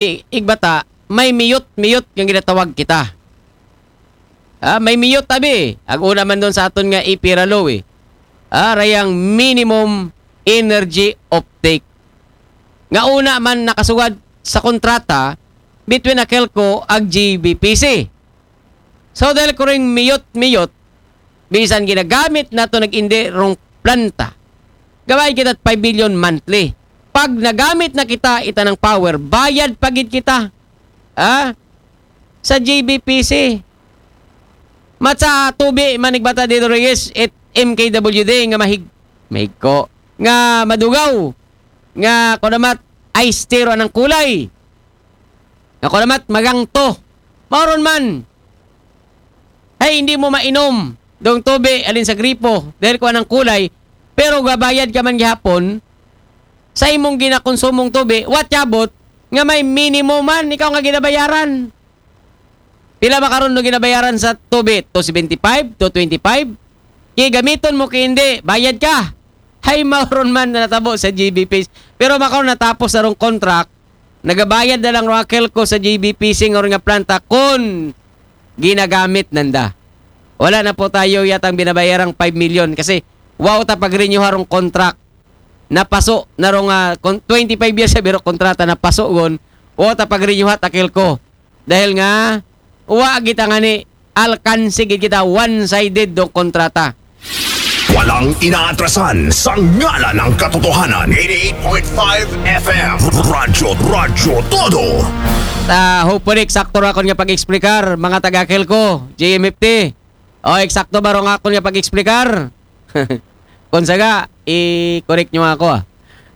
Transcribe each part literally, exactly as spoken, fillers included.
Igbata, may miyot-miyot nga ginatawag kita. Ah, may miyot, abi. Ang una man doon sa aton nga ipiralo, eh. Ah, rayang minimum energy offtake. Nga una man nakasugad sa kontrata between Akelco ag G B P C. So, dahil ko ring miyot-miyot, bisan ginagamit nato nag-indi rong planta, gabayad kita five million monthly. Pag nagamit na kita, ita ng power, bayad pa gid kita. Ah? Sa G B P C. Matsa tubi, man Igbata Dito Reyes, at M K W D nga mahig-, mahigko, nga madugaw, nga kunamat, ice tea ro anang kulay. Nga kunamat, magangto. Mao ron man. Ay, hindi mo mainom dong tubi, alin sa gripo, dahil kuan ang kulay, pero gabayad ka man gihapon sa imong ginakonsumong tubi, what yabot nga may minimum man, ikaw nga ginabayaran. Pila ba karon no ginabayaran sa tubi? Two seventy-five, two twenty-five? Kay gamiton mo kay hindi, bayad ka. Hay, mao ron man na natabo sa G B P C. Pero makaw natapos na rong contract, nagabayad na lang ro Akelco sa G B P C nga ron nga planta kung ginagamit nanda. Wala na po tayo yatang binabayarang five million kasi wow ta pag-renew harong contract. Napaso na rong ah, kon-, twenty-five years sa biro kontrata, napaso gon. Wow ta pag-renew hat Akelco. Dahil nga wa kita nga ni alkanse gid kita, one-sided dong kontrata. Walang inaatrasan sa ngalan ng katotohanan. Eighty-eight point five F M. Radyo, Radyo Todo. Ah, hopefully, eksakto ra akon nga pag-explicar, mga taga Akelco, G M F T. O, eksakto ba rong akon nga pag-explicar? Kung saga, i-correct nyo ako, ah.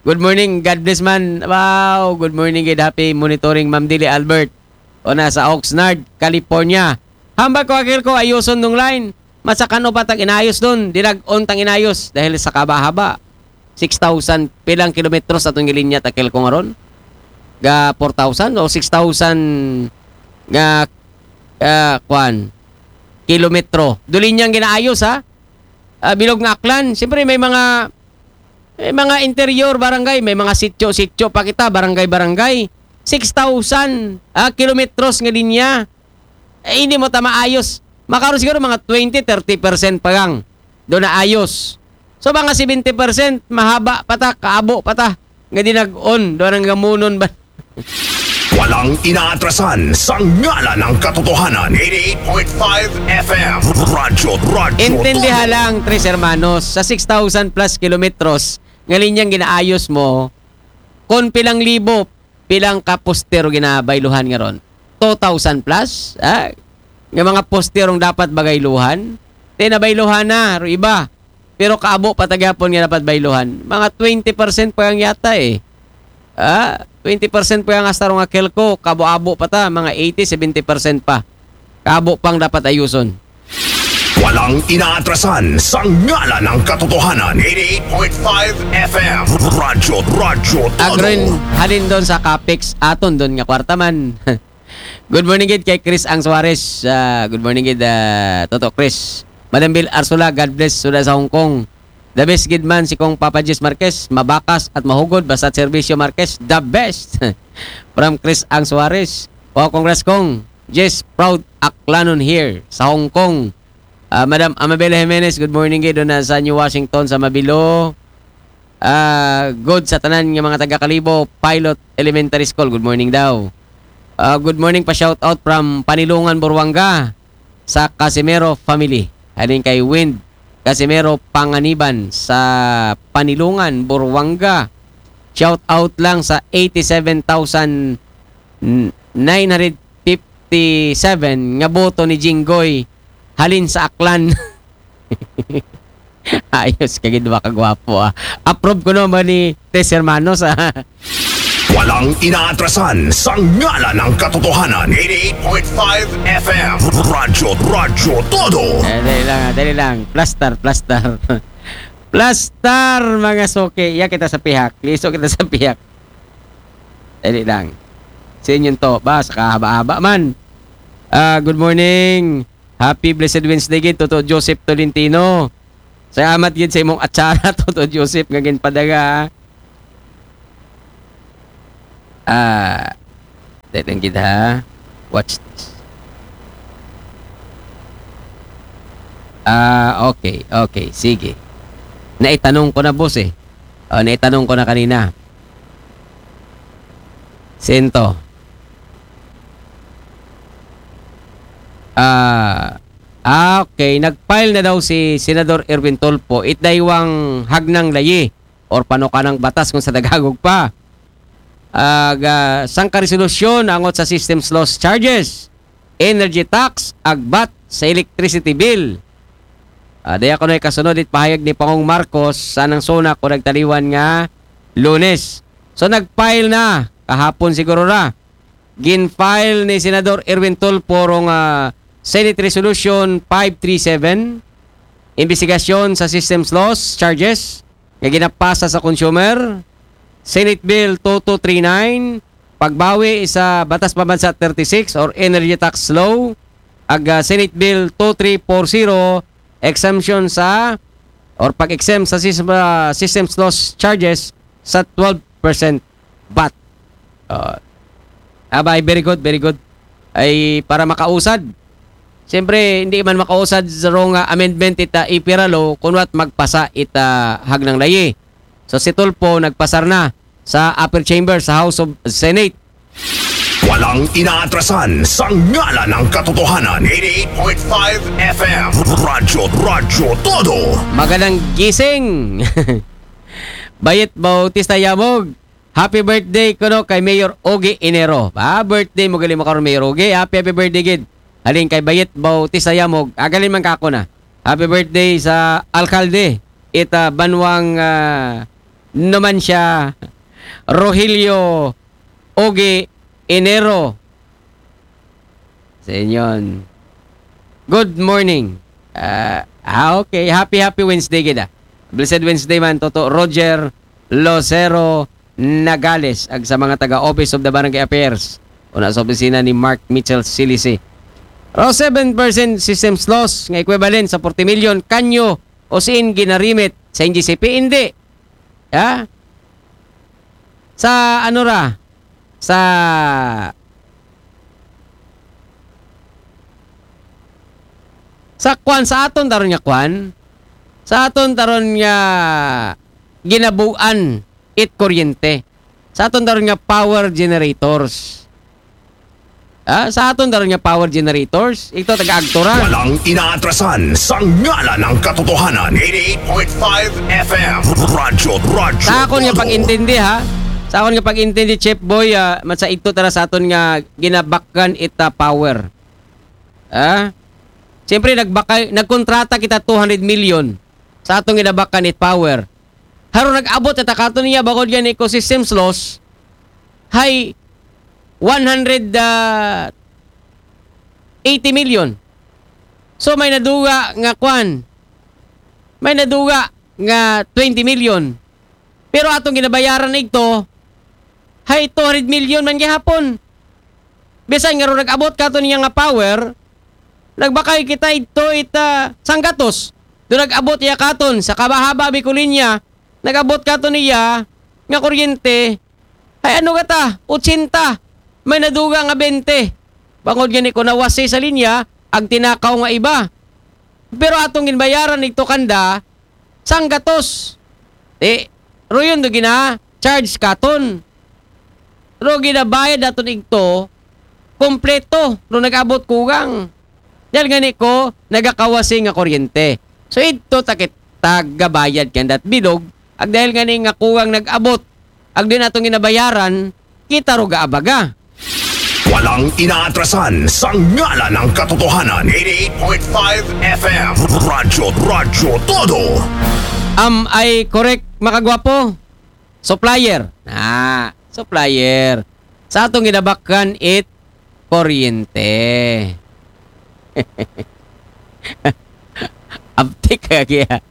Good morning, God bless man. Wow, good morning, good happy monitoring, Ma'am Dili Albert. O na sa Oxnard, California. Hambal ko, Akelco, ayuson dong line. Masakan o pa tang inayos dun. Dinag-on tang inayos dahil sa kabahaba. Six thousand pilang kilometros atong gilinya, Akelco, nga ron. Ga four thousand o six thousand nga, ah, kwan, kilometro. Dulinyang ginaayos, ha? Ah, bilog nga Aklan. Siyempre, may mga, may mga interior barangay, may mga sityo-sityo pa kita, barangay-barangay. Six thousand, ah, kilometros nga linya. Eh, hindi mo ta maayos. Makaroon siguro mga twenty, thirty percent pa lang. Doon na ayos. So, mga seventy percent, mahaba pa ta, kaabo pa ta. Nga dinag-on, doon ang gamunon ba? Walang inaatrasan sa ngalan ng katotohanan. Eighty-eight point five F M. Radyo, Radyo Intindiha Todo. Lang, tres hermanos, sa six thousand plus kilometros, nga linyang ginaayos mo, kung pilang libo, pilang ka poster ginabayluhan nga ron? Two thousand plus? Ah? Nga mga poster ang dapat bagayluhan? Di nabayluhan na, ro iba. Pero kaabo pa ta gyapon nga dapat bayluhan. Mga twenty percent pa ang yata eh. Ah, twenty percent pa ang hasta rong Akelco, kabo-abo pa ta, mga eighty, seventy percent pa. Kabo pang dapat ayuson. Walang inaatrasan sa ngalan ng katotohanan. Eighty-eight point five F M. Radyo, Radyo Todo. Agrin, halin doon sa capex, aton doon nga kwarta man. Good morning gid kay Chris Ang Suarez. Ah, good morning gid, ah, Toto Chris. Madam Bill Arsula, God bless, suda sa Hong Kong. The best gid man si Kong Papa Jess Marquez, mabakas at mahugod basta serbisyo Marquez, the best. From Chris Ang Suarez. Wow, congrats Kong. Jess, proud Aklanon here sa Hong Kong. Ah, Madam Amabela Jimenez, good morning gid doon na sa New Washington sa Mabilo. Ah, good sa tanan nga mga taga Kalibo, Pilot Elementary School, good morning daw. Ah, good morning pa, shout out from Panilungan, Buruanga, sa Casimero family. Halin kay Wind Casimero Panganiban sa Panilungan, Buruanga. Shout out lang sa eighty-seven thousand nine hundred fifty-seven nga boto ni Jinggoy halin sa Aklan. Ayos ka gid, wa ka gwapo, ah. Approve ko naman ni Tres Hermanos, ah. Walang inaatrasan sa ngalan ng katotohanan. Eighty-eight point five F M. Radyo, Radyo Todo. Eh, dali lang, ah, dali lang. Plaster, plaster. Plaster, mga suki. Iya kita sa pihak. Liso kita sa pihak. Dali lang. Sa inyong to. Ba, sa kahaba-haba man. Ah, good morning. Happy blessed Wednesday gid, Toto Joseph Tolentino. Salamat gid sa imong atsara, Toto Joseph, nga ginpadala. Ah, Dali lang gid, ha? Watch this. Ah, okay, okay. Sige. Naitanong ko na, boss, eh. Oh, naitanong ko na kanina. Sento. Ah, ah, okay. Nag-file na daw si Senador Erwin Tulfo. It daywang hagnang layi or panukanang batas kung sa Tagalog pa. Ag, ah, sangka resolusyon angot sa systems loss charges, energy tax, ag vat sa electricity bill. Ah, daya ko na ikasunod it pahayag ni Pangong Marcos sa nang suna ko nagtaliwan nga Lunes. So, nag-file na kahapon siguro ra. Gin-file ni Senador Erwin Tulfo rong, ah, Senate Resolution five three seven, imbestigasyon sa systems loss charges nga ginapasa sa consumer, Senate Bill two two three nine, pagbawi sa Batas Pambansa thirty-six or Energy Tax Law, ag, ah, Senate Bill two three four zero, exemption sa or pag-exempt sa sys-, ah, systems loss charges sa twelve percent vat. Ah, abay, very good, very good. Ay, para makausad. Siyempre, hindi man makausad sa rong, ah, amendment ita ipira law, kunwat magpasa ita hagnang layi. So, si Tulfo nagpasar na sa upper chamber sa House of Senate. Walang inaatrasan sa ngalan ng katotohanan. Eighty-eight point five F M. Radyo, Radyo Todo. Magandang gising! Bayit Bautista Yamog. Happy birthday kuno kay Mayor Ogie Enero. Ah, birthday mo gali mo karon, Mayor Ogie. Happy, happy birthday gid. Halin kay Bayit Bautista Yamog. Agalin man ka ako na. Happy birthday sa alkalde. Ita banwang, ah, Numancia, Rogelio Ogie Enero. Sa inyon. Good morning. Ah, ah, okay. Happy, happy Wednesday gid, ah. Blessed Wednesday man, Toto Roger Lucero Nagales, ag sa mga taga Office of the Barangay Affairs, una sa opisina ni Mark Mitchell Silisi. Ro seven percent systems loss nga equivalent sa forty million kanyo o siin ginarimit sa N G C P, hindi. Ha? Sa ano ra? Sa sa kwan, sa aton taron nga kwan, sa aton taron nga ginabuan it kuryente, sa aton taron nga power generators. Ah, sa aton taron nga power generators, ito taga-agto ra. Walang inaatrasan sa ngalan ng katotohanan. Eighty-eight point five F M. Radyo, Radyo Sa akon nga Todo. Pag-intindi, ha, sa akon nga pag-intindi, Chef Boy, ah, matsa igto tara sa aton nga ginabakan ita power. Ah? Siyempre, nagbakay, nagkontrata kita two hundred million sa atong ginabakan it power. Haro nag-abot ita kato niya, bakod yan ecosystems loss, hay one hundred, ah, eighty million. So, may naduga nga kwan. May naduga nga twenty million. Pero atong ginabayaran na ito, hay two hundred million man gihapon. Bisan nga ro nag-abot kato niya nga power, nagbakay kita ito ita sanggatos. Do nag-abot iya katon sa kabahaba Bicolinia, nag-abot kato niya nga kuryente, ay ano gata, ochenta, may naduga nga bente. Bangod gani ko nawasi sa linya, ag tinakaw nga iba. Pero atong ginbayaran igto kanda, sanggatos. Eh, ro yun do gina-charge katon. Ro ginabayad naton igto, kompleto, ro nag-abot kugang. Dahil gani ko, nagakawasi nga kuryente. So, ito takit tagabayad kandat bilog, ag dahil gani nga kugang nag-abot, ag din atong ginabayaran, kita ro gaabaga. Walang inaatrasan sa ngalan ng katotohanan. Eighty-eight point five F M. Radyo, Radyo Todo. Am I correct, makagwapo? Supplier. Ah, supplier. Sa atong ginabakan it kuryente. Abtik ka kaya.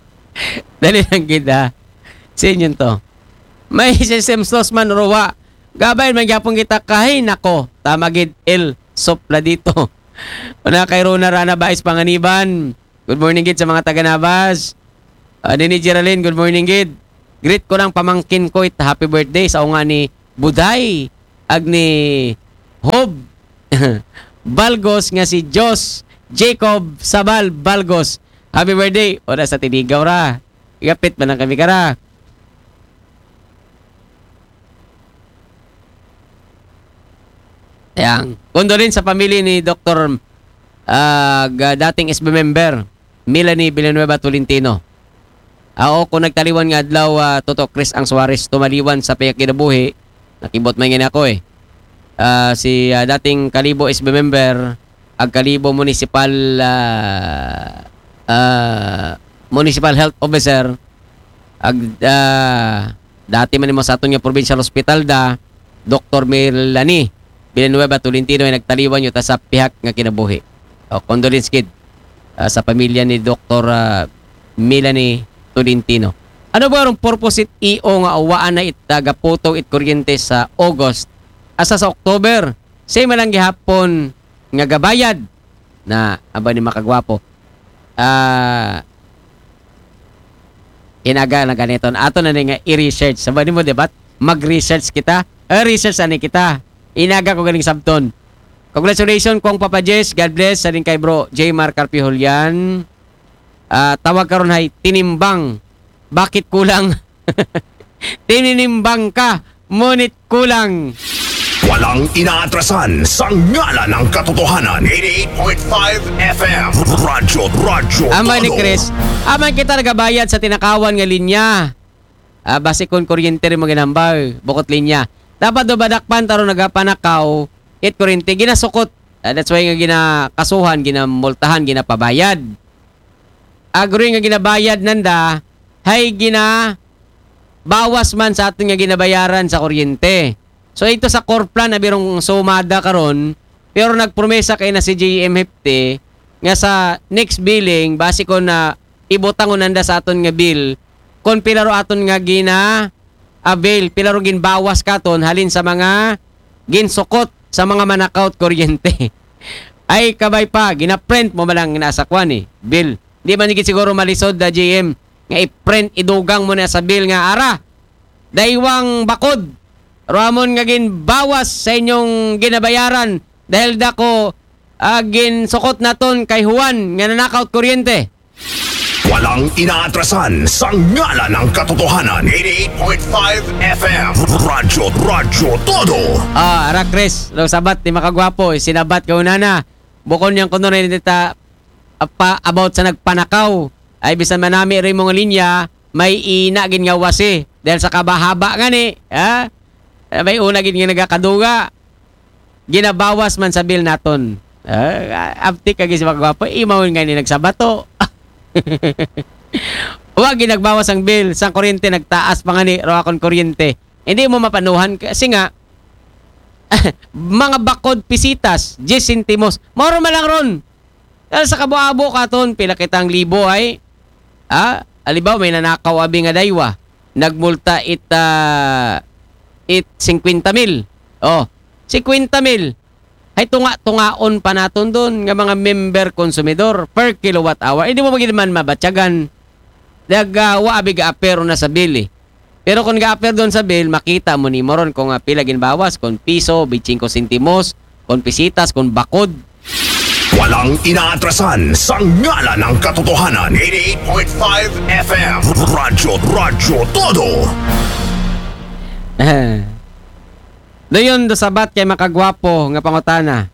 Dali lang gid, ha. Sa inyo to. May systems loss man, ruwa. Gabay man gyapon kita kahay nako. Tama gid, El Sopla dito. Una kay Rona Rana Bais Panganiban. Good morning gid sa mga taga Nabas. Ah, ni Geraldine, good morning gid. Greet ko lang pamangkin ko it happy birthday sa unga ni Buday ag ni Hob Balgos nga si Jos Jacob Sabal Balgos. Happy birthday. Ora sa tinigaw ra. Gapit man lang kami kara. Yang. Condolence sa pamilya ni Doktor, ah, ga-, dating S B member, Melanie Villanueva Tolentino. Ako, kung nagtaliwan nga adlaw, ah, Toto Chris ang Suarez, tumaliwan sa pihak kinabuhi, nakibot man gani ako eh. Ah, si, ah, dating Kalibo S B member, ag Kalibo Municipal, ah, ah, Municipal Health Officer, ag, ah, dati man mo sa aton nga provincial hospital da, Doktor Melanie Villanueva Tolentino ay nagtaliwan yuta sa pihak nga kinabuhi. O, condolence gid, ah, sa pamilya ni Doktor, ah, Melanie Tolentino. Ano ba ang purpose it E O nga awaan na it, ah, gaputo it kuryente sa August? Asa sa October? Same lang gihapon nga gabayad na aba ni makagwapo. Ah, inaga na ganiton. Ato na ni nga i-research. Sabi mo, di ba? Mag-research kita. Eh, research ani kita. Inaga ko ganing sabton. Congratulations, Kong Papa Jess. God bless. Sa din kay bro, J Mar Carpio Julian. Ah, tawag karon hay tinimbang. Bakit kulang? Tininimbang ka, ngunit kulang. Walang inaatrasan sa ngalan ng katotohanan. Eighty-eight point five F M. Radyo, radyo, Amay ni todo. Chris, amay kita nagabayad sa tinakawan nga linya. Ah, basi kung kuryente rin mo ginambaw, bukot linya. Dapat do badakpan taro nagapanakaw, it kuryente, ginasukot. Ah, that's why nga ginakasuhan, ginamultahan, ginapabayad. Agree nga ginabayad nanda, hay gina bawas man sa aton nga ginabayaran sa kuryente. So, ito sa core plan, abirong sumada karon, pero nagpromesa kay na si J M Hepte nga sa next billing, basi ko na ibutang unanda sa aton nga bill, kung pila ro aton nga gina-avail, pila ro ginbawas katon, halin sa mga ginsukot sa mga manakaw it kuryente. Ay, kabay pa, gina-print mo malang na sa kwan eh, bill. Di man gid siguro malisod na J M nga i-print, idugang mo na sa bill nga ara. Daywang bakod. Ramon nga ginbawas sa inyong ginabayaran dahil dako, ah, ginsukot naton kay Juan nga nanakaw it kuryente. Walang inaatrasan sa ngalan ng katotohanan. Eighty-eight point five F M. Radyo, radyo, todo. Ah, ara Chris, lo sabat ni makagwapo, sinabat ka unana. Bukon yang kuno rin dita, apa, about sa nagpanakaw. Ay bisan manami rin mga linya, may ina gin nga wasi. Dahil sa kabahaba nga ni, ha? Eh, may una gid nga nagakaduga. Ginabawas man sa bill naton. Ah, abtik kagi si makagwapo, imawon nga ni nagsabato. Wa ginagbawas ang bill, sa kuryente nagtaas pa nga ni, ro akon kuryente. Hindi mo mapanuhan kasi nga, mga bakod pisitas, diyes sentimos. Moro man lang ron. Dahil sa kabo-abo katon, pila kitang libo ay, ah, alibaw, may nanakaw abi nga daywa. Nagmulta it, ah, it singkwenta mil. Oh, singkwenta mil. Ay tunga-tungaon pa naton doon nga mga member konsumidor per kilowatt hour. Hindi mo magiging man mabatyagan. Nag, ah, wa abi ga apero na sa bill eh. Pero kung ga-appear doon sa bill, makita mo ni moron kung, ah, pila ginbawas, kung piso, bitsingko sentimos, kung pisitas, kung bakod. Walang inaatrasan sa ngalan ng katotohanan. Eighty-eight point five F M. Radyo, radyo, todo. Doon do sabat kay makagwapo nga pangutana.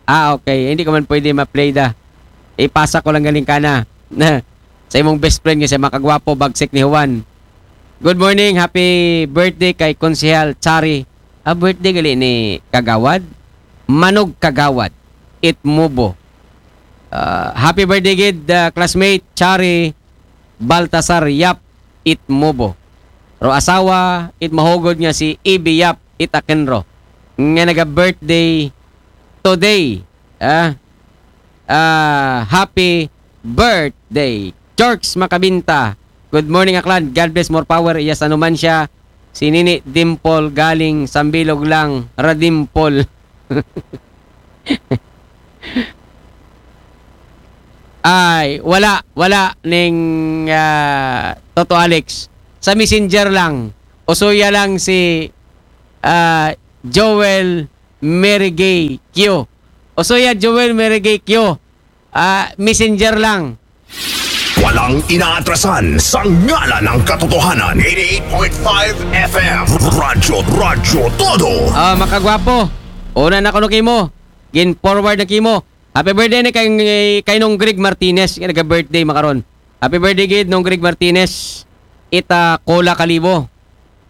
Ah, okay. Hindi ko man pwede ma-play da. Ipasa ko lang galing ka na. Sa imong best friend nga siya makagwapo, bagsik ni Juan. Good morning, happy birthday kay Konsehal Chari. Ah, birthday gali ni Kagawad? Manog Kagawad. Itmubo. Ah, happy birthday gid, ah, classmate Chari Baltasar Yap Itmubo. Ro asawa, it mahugod nga si Ibi Yap Itakenro. Nga naga-birthday today. Ah, ah, happy birthday. Chorks Makabinta. Good morning, Aklan. God bless, more power. Yes, ano man siya. Si Nini Dimple galing Sambilog lang. Radimple. Ay, wala, wala ning, ah, Toto Alex. Sa messenger lang. Usuya lang si, ah, Joel Mary Gay Q. Usoya Joel Mary Gay Q. Ah, messenger lang. Walang inaatrasan sa ngalan ng katotohanan. eighty-eight point five F M. Radyo, Radyo Todo. Ah, makagwapo. Una na kuno kimo. Gin forward na kimo. Happy birthday ni kay, kay Nong Greg Martinez. Nga naga-birthday makaron. Happy birthday gid, Nong Greg Martinez. Ita Cola Kalibo.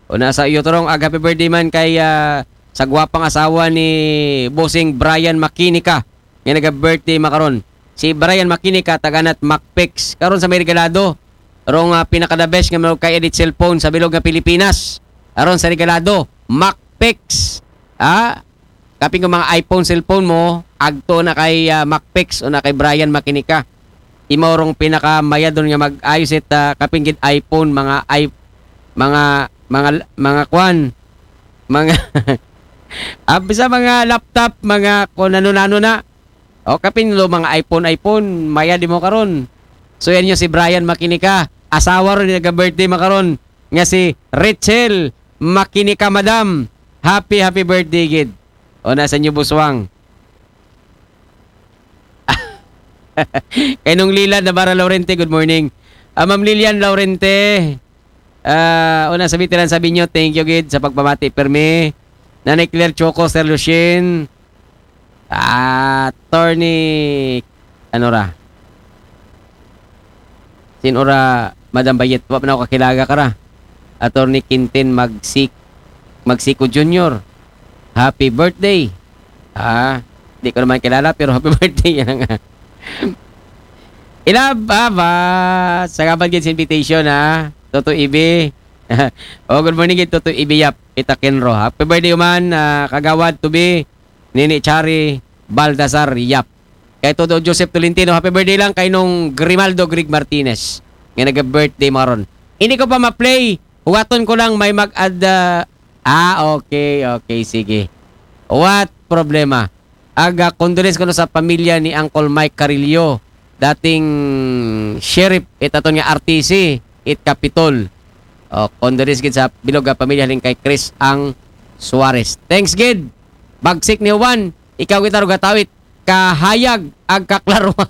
Una sa iyo, Torong, ag happy birthday man kay, ah, sa gwapang asawa ni Bossing Brian Makinika. Nga naga-birthday makaron. Si Brian Makinika, taganat Macpix. Karon sa may regalado. Rong, ah, pinaka-the best nga mga kay edit cellphone sa bilog nga Pilipinas. Aron sa regalado, Macpix. Ah, kapin ko mga iPhone cellphone mo, agto na kay, ah, Macpix o na kay Brian Makinika. Imo rong pinakamayadon nga mag-ayos it, ah, kapin gid iPhone, mga i-, mga, mga, mga kwan, mga, ah, bisa mga laptop, mga kung ano-ano na. O, kapin lo mga iPhone, iPhone, mayad imo karon. So, yan yung si Brian Makinika. Asawa ron, naga-birthday makaron. Nga si Rachel Makinika, madam. Happy, happy birthday, gid. O, nasa inyo, buswang. Kay Nong Lila Navarra Laurente, good morning. Ah, Ma'am Lilian Laurente, ah, una sa veteran, sabi nyo, thank you, gid, sa pagpamati, permi. Nanay Claire Choco, Sir Lucien, ah, Attorney, ano ra? Sin ora, Madam Bayet, wa pa na ako kakilaga ka ra. Attorney Quintin Magsik-, Magsiko Junior. Happy birthday. Ah, di ko naman kilala, pero happy birthday yan nga. Ilab, aba, salamat gid sa invitation, ha. Toto Ibi. Oh, good morning gid, Toto Ibi Yap. Itakenro. Happy birthday man, ah, kagawad to be Nini Chari Baltasar Yap. Kay Toto Joseph Tolentino, happy birthday lang kay Nong Grimaldo Greg Martinez. Nga naga-birthday maron. Hindi ko pa ma-play. Huwaton ko lang may mag-add, ah, ah, okay, okay, sige. What problema? Aga, condolence ko sa pamilya ni Uncle Mike Carillo, dating sheriff, it aton nga R T C, it Capitol. O, condolence gid sa bilog nga pamilya halin kay Chris ang Suarez. Thanks gid. Bagsik ni Juan, ikaw kita rugatawit, kahayag ag kaklaruhan.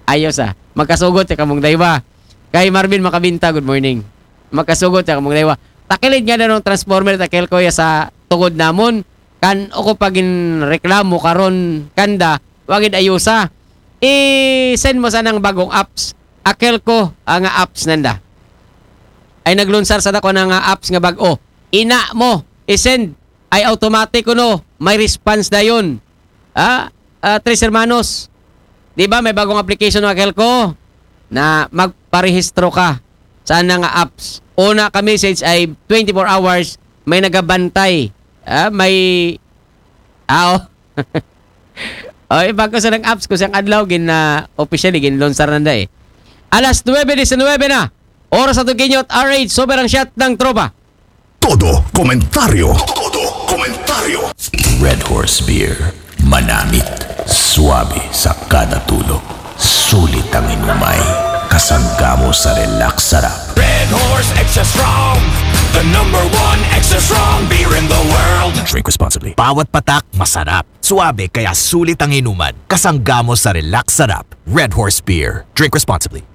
Ayos, ah. Magkasugot ya kamong daywa. Kay Marvin Makabinta, good morning. Magkasugot ya kamong daywa. Takilid nga na nung transformer, takil ko ya sa tugod namon. Kan o ko pagin reklamo karon kanda, wagid ayusa. I-send mo sa nang bagong apps. Akel ko ang apps nanda. Ay naglunsar sa dako na nga apps nga bag-o. Ina mo, i-send ay automatic kuno, may response dayon. Ah, ah, Tres Hermanos, di ba may bagong application ng Akelco na magparehistro ka sa nga apps? Una ka message ay twenty-four hours, may nagabantay. Ah, may, ah, oh. Oy, bago sa nang apps ko siyang adlaw, gin, ah, officially, gin-launchar nanda eh. Alas nuebe diecinuebe na. Oras sa Tuginyot, R H, sobrang shot ng tropa. Todo komentaryo. Todo komentaryo. Red Horse Beer. Manamit. Suabe sa kada tulo. Sulit ang inumay. Kasangga mo sa relax sarap. Red Horse Extra Strong. The number one extra strong beer in the world. Drink responsibly. Bawat patak masarap. Suabe kaya sulit ang inuman. Kasangga mo sa relax sarap. Red Horse Beer. Drink responsibly.